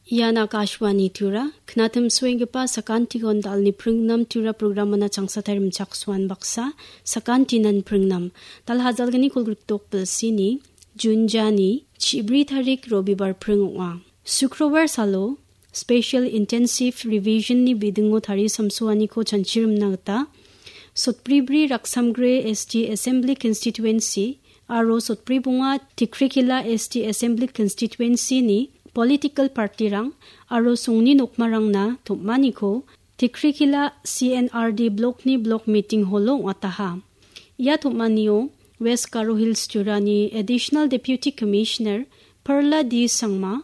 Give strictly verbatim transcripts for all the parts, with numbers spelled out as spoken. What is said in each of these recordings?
Ian Akashvani Tura, knatim suenggipa sakantikon dalni pringnam Tura programana changsatai rimchaksoan baksa, sakantinan pringnam. Dal hajalgni kolgrikdok bilsini, Jun jani, chibri tarik Robibar pring ong·a. Sukrobar salo, Special Intensive Revision ni bidingo tari samsoaniko chanchirimna gita, Sotbribri Raksamgre S T Assembly Constituency aro Sotbribonga Tikrikila S T Assembly Constituency ni political party-rang aro songni nokmarangna tom·aniko Tikrikila C N R D block ni block meeting hall-o ong·ataha. Ia tom·anio West Garo Hills Jurani Additional Deputy Commissioner Perla D Sangma,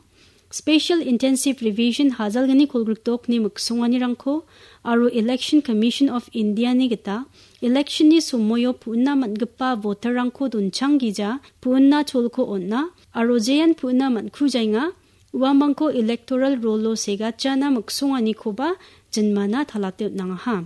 Special Intensive Revision hajalgni kolgrikdokni miksonganirangko aro Election Commission of India-ni gita election-ni somoio pu·na man·gipa voter-rangko donchang gija pu·na cholko on·a aro jean pu·na man·kujaenga uamangko electoral roll-o segatjana miksonganikoba jinmana talate on·angaha.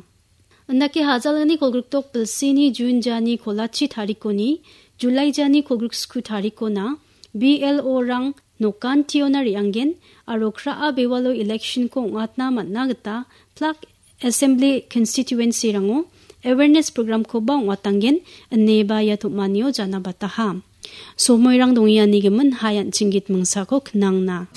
Indake hajalgni kolgrikdok bilsini Jun jani kolachi tarikoni, Julai jani kolgriksku tarikona B L O-rang nokantiona re·angen aro kra·a bewalo election-ko ong·atna man·na gita plak Assembly Constituency-rango awareness program-koba ong·atangen ineba ia tom·anio janabataha. Somoirang dongianigimin hai an·chinggit mingsako knangna.